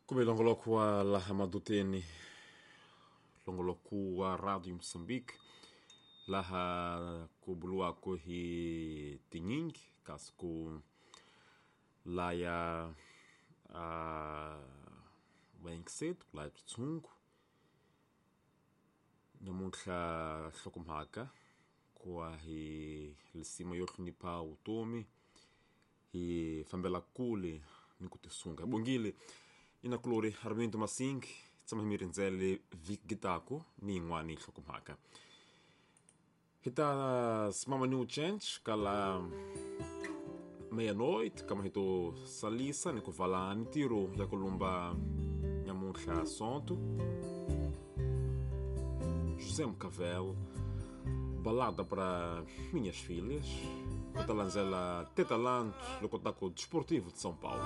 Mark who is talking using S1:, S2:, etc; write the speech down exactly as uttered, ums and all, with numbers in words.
S1: Kumbe longoloko wa laha maduteni, longoloko wa Radio Moçambique, laha ku buluwako hi tinyingi kasi ku laya uh, vainkisetu ku laya switshungu. Namuntlha nhlokomhaka ku wa hi lisima yo hlonipha vutomi hi fambela kule ni ku tisunga. Hi bongile inakulori Armindo Masingi, tshama hi mi rindzele vhiki gitaku ni yin'wani nhlokomhaka. Hi ta simama ni uchench kala meia-noite, kama hi to salisa ni ku vala mintirho ya ku lumba nyamuntlha sonto. José Mucavel, Balada para Minhas Filhas, ku ta landzela Tetalanto loko ta ku Desportivo de São Paulo.